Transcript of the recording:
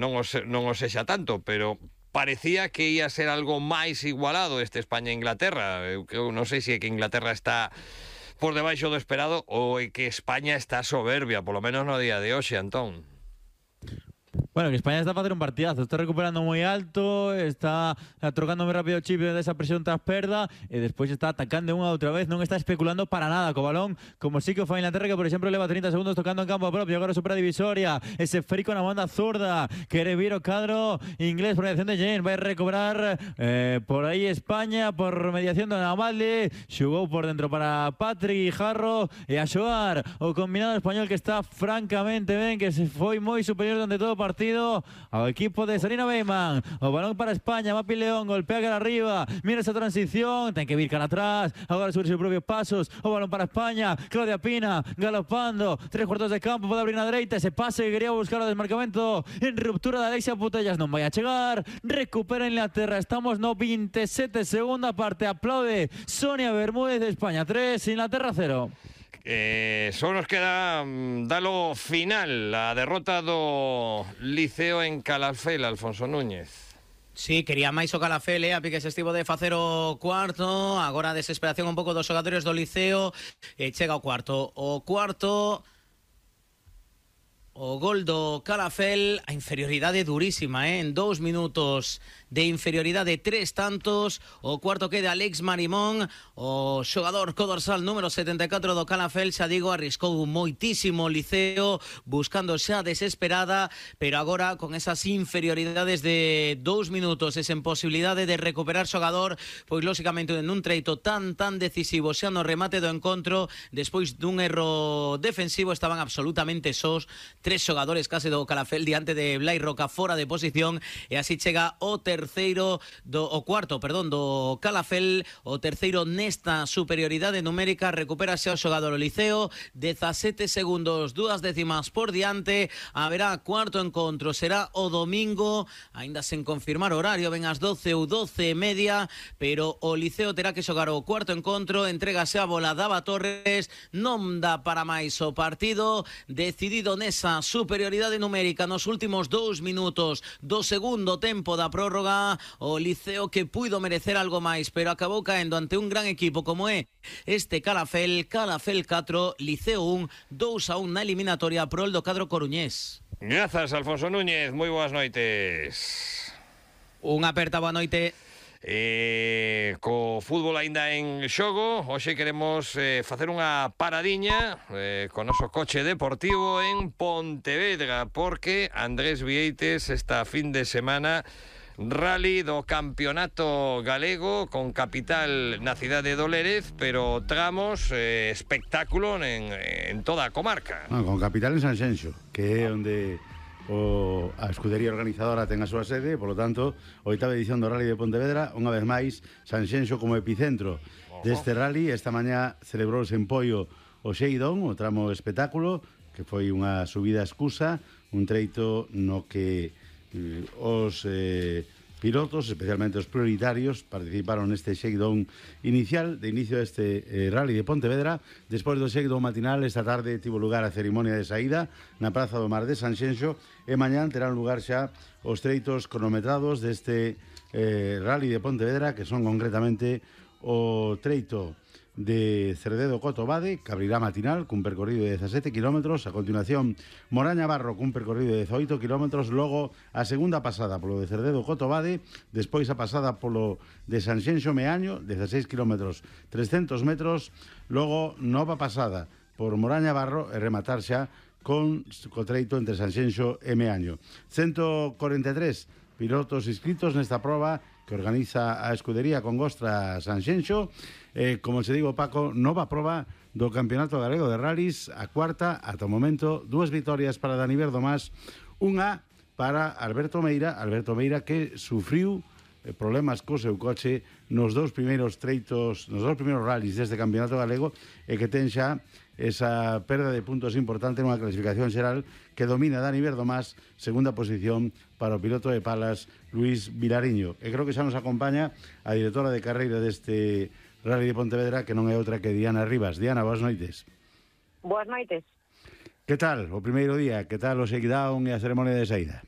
non o sexa tanto, pero parecía que ia ser algo máis igualado este España-Inglaterra. Eu non sei se é que Inglaterra está por debaixo do esperado ou é que España está soberbia, polo menos no día de hoxe, Antón. Bueno, que España está para hacer un partidazo, está recuperando muy alto, está trocando muy rápido chip de esa presión tras perda y después está atacando unha outra vez, non está especulando para nada co balón, como sí que fue Inglaterra, que por exemplo leva 30 segundos tocando en campo propio, agora supera a divisoria, ese frico na banda zurda, quere vir o cadro inglés por mediación de Jane, vai recobrar por aí España, por mediación de Navalde, xugou por dentro para Patrick Jarro e a xogar o combinado español que está francamente ben, que se foi moi superior durante todo o partido ao equipo de Sarina Beyman. O balón para España, Mapi León, golpea cara arriba, mira esa transición, ten que vir cara atrás, agora sobre sus propios pasos, o balón para España, Claudia Pina, galopando, 3/4 de campo, pode abrir na dereita, ese pase que quería buscar o desmarcamento en ruptura de Alexia Putellas, non vai a chegar, recupera Inglaterra, estamos no 27, segunda parte, aplaude Sonia Bermúdez de España 3, Inglaterra 0. Só nos queda dalo final, a derrota do Liceo en Calafell, Alfonso Núñez. Sí, quería máis o Calafell, a pique se estivo de facer o cuarto, agora a desesperación un pouco dos xogadores do Liceo, chega o cuarto. O gol do Calafell, a inferioridade durísima, en 2 minutos de inferioridade, 3 tantos, o cuarto queda Alex Marimón, o xogador codorsal número 74 do Calafell, xa digo, arriscou moitísimo o Liceo, buscando xa desesperada, pero agora con esas inferioridades de 2 minutos e sen posibilidade de recuperar xogador, pois lóxicamente nun treito tan decisivo xa no remate do encontro, despois dun erro defensivo estaban absolutamente sós, 3 xogadores case do Calafell diante de Blai Roca fora de posición, e así chega o cuarto do Calafell, o terceiro nesta superioridade numérica, recupérase o xogador o Liceo, 17 segundos, 2 décimas por diante, haberá cuarto encontro, será o domingo, aínda sen confirmar horario, ven as 12 ou 12:30, pero o Liceo terá que xogar o cuarto encontro, entrégase a bola Dava Torres, non dá para máis o partido, decidido nesa superioridade numérica nos últimos 2 minutos do segundo tempo da prórroga, o Liceo que puido merecer algo máis, pero acabou caendo ante un gran equipo como é este Calafell 4, Liceo 1, 2-1 na eliminatoria prol do cadro coruñés. Grazas, Alfonso Núñez, moi boas noites. Unha aperta boa noite. Co fútbol aínda en xogo, hoxe queremos facer unha paradiña co noso coche deportivo en Pontevedra, porque Andrés Vieites esta fin de semana rally do campeonato galego con capital na cidade de Lérez, pero tramos espectáculo en toda a comarca. Con capital en Sanxenxo, que é onde a escudería organizadora ten a súa sede, polo tanto, oitava edición do Rally de Pontevedra, unha vez máis, Sanxenxo como epicentro deste rally. Esta mañá celebrouse en Poio o Xeidón, o tramo espectáculo, que foi unha subida escusa, un treito no que os pilotos, especialmente os prioritarios, participaron neste shakedown inicial, de inicio deste rally de Pontevedra. Despois do shakedown matinal, esta tarde tivo lugar a cerimonia de saída na Praza do Mar de Sanxenxo, e mañán terán lugar xa os treitos cronometrados deste rally de Pontevedra, que son concretamente o treito de Cerdedo-Cotobade, que abrirá matinal cun percorrido de 17 km, a continuación Moraña-Barro cun percorrido de 18 km, logo a segunda pasada polo de Cerdedo-Cotobade, despois a pasada polo de Sanxenxo-Meaño, 16 km 300 metros, logo nova pasada por Moraña-Barro e rematar xa co treito entre Sanxenxo e Meaño. 143 pilotos inscritos nesta proba que organiza a escudería Congostra Sanxenxo. Como se digo, Paco, nova proba do Campeonato Galego de Rallys, a cuarta ata o momento, 2 vitorias para Dani Verdomás, unha para Alberto Meira que sufriu problemas co seu coche nos 2 primeiros treitos, nos 2 primeiros rallys deste Campeonato Galego, e que ten xa esa perda de puntos importante nunha clasificación xeral que domina Dani Verdomás, segunda posición para o piloto de Palas, Luis Vilariño. E creo que xa nos acompaña a directora de carreira deste Rally de Pontevedra, que non é outra que Diana Rivas. Diana, boas noites. Boas noites. Que tal o primeiro día? Que tal o shakedown e a ceremonia de saída?